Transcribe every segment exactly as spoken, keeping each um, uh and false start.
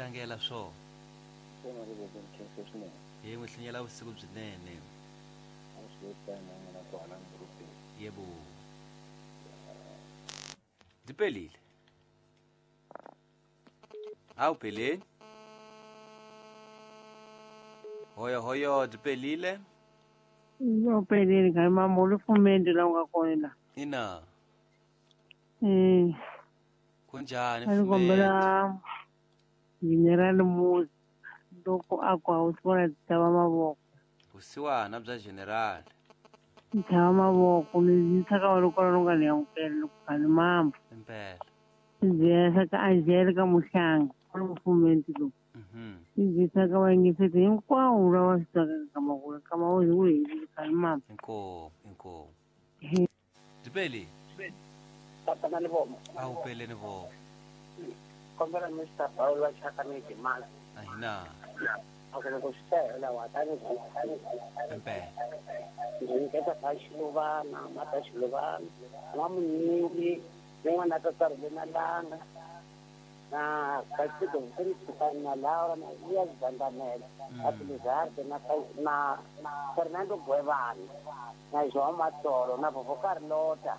tlangela swo. Kona ri voko nkhensa swinene. Hi n'wi hlinyela vusiku byinene. A swi tani na kwala ngurupeni. Yebo. Dipelile. Awu Peleni. Hoyo hoyo dipelile. Yo Peleni ka mamolo fumende la nga kona. Ina. Eh. Kunjani fumende? Kombela General Musa loko a ku a wu vona tava mavoko. Vusiwana bya General. Tava mavoko ni tsaka wa loko lo nga ni amukela loko ka ni mamba. Impela. Ndzi ka Angelica Muhlanga lo fumende lo. Mhm. Ndzi tsaka wa ngisete hinkwawo lawa swi tsakaka ka mavoko ka mavoko hi wu ka ni mamba. Inkomu inkomu. Dipeli. Tatana ni voma. Awu Peleni voma. Kombela Mister Paul wa Chaka ni Dimala. Ahina. Akele ku swi wa tani Impela. Ndzi nyiketa ka Xiluvana, mata Xiluvana, n'wamunyingi, ni n'wana ta na Langa, na Kasiko Mfundisi na Laura na Elias Bandamela, na Pilizarde na na Fernando Guevara, na João Matoro, na Vovó Carlota,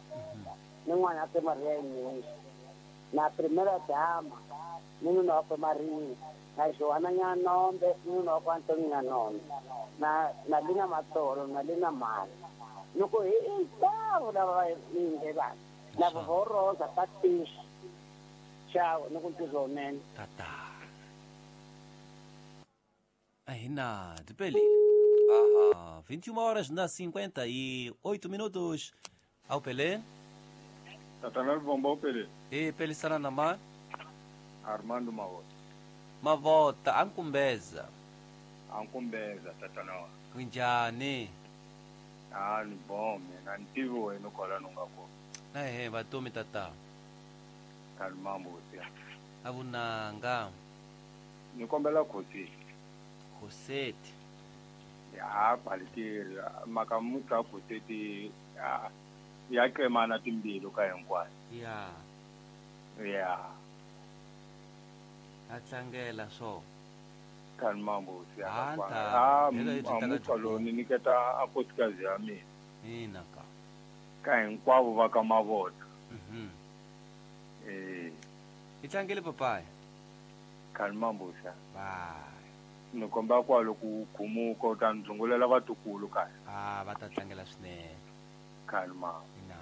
ni n'wana ta Maria Inês, na Primeira Dama, ni nuna wakwe Maria, na Joana Nyanombe, ni nuna wakwe Antonio Nyanombe, na na Lina Matoro, na Lina Mali. Loko hi hinkwavo lava va yingelaka, na Vovó Rosa Patricia, Ciao, ni ku ntirho lowunene. Tata. Ahina, dipelile. Aha, vinte e uma horas na cinquenta e oito minutos. Ao Pelé. Tatana Bombo Pelé. E Pelé sana na Armando Mavota. Mavota, ankumbeza. Ankumbeza tatana. Kunjani? Ah, ni bom, mina ntivo wena kwala nungako. Na he vatomi tata. Kalmambo sia. Avunanga. Nikombela khosi. Khoseti. Ya quality makamuka khoseti ya ya qemana timbilu ka hinkwayo. Ya. Ya. A tlangela swo. Kalmambo sia. Ah, amuka lo ni niketa a nkosikazi ya mina. Ina ka. Ka hinkwavo va ka Mavota. Mhm. Eh. I tlangele papai. Kalmambo sia. Bye. Ni komba kwalo ku khumuka u ta ndzungulela vatukulu kaya. Ah, va ta tlangela swinene. Kalma. Ina.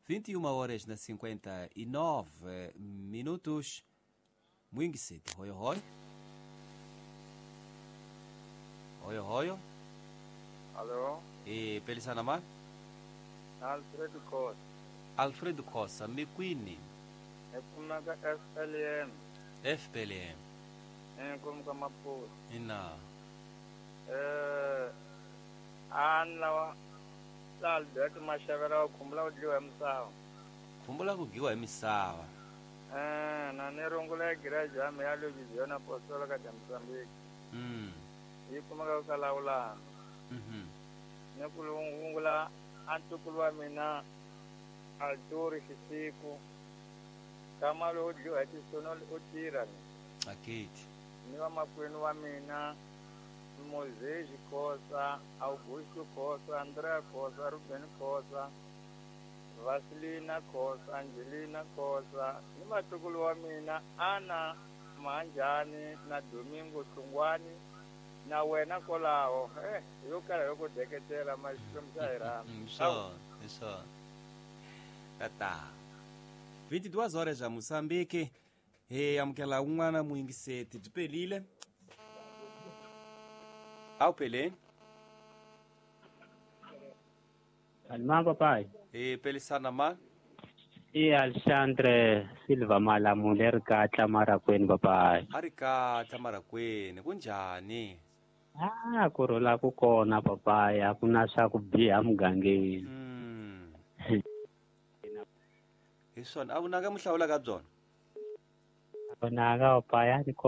vinte e uma horas na cinquenta e nove minutos. Mwingiseti, hoyo hoyo. Hoyo hoyo. Alô? E pelisana ma? Alfredo Costa. Alfredo Costa, mikwini. Ekumaka F L M. F P L M. Enkomu ka Maputo. Ina. Eh an lawa la Alberto Mashavera khumbula ku dliwa hi misava. Khumbula ku dliwa hi misava. Eh na ni rungula garage ya mina ya Louisiana Apostolic de Mozambique. Mm. Yi kumeka ka Lawulana. Mhm. Ni ku rungula antukulu wa mina Arturo Xisiku. Kamalo u dliwa hi tisono u tirha. Akiti. Ni wa makwenu wa mina Moses Khosa, Augusto Khosa, Andrea Khosa, Ruben Khosa, Vasilina Khosa, Angelina Khosa, ni vatukulu wa mina Ana Manjani na Domingo Hlungwani na wena kwalaho. Eh, yo kala yo ku deketela maxikwembu xa hi rhandza. Sure, sure. Tata. vinte e duas horas já Moçambique. Hey, amukela un'wana muyingiseti byi pelile. Awu Peleni. Kalma papai. E pelisana ma? E Alexandre Silva Malamule ri katla marakweni papai. A ri katla marakweni kunjhani? Ah, ku rhula ku kona papai, a ku na swa ku biha mugangeni. Mm. Hi swona, a vunanga mi hlawulaka byona? Vonaka papai a ni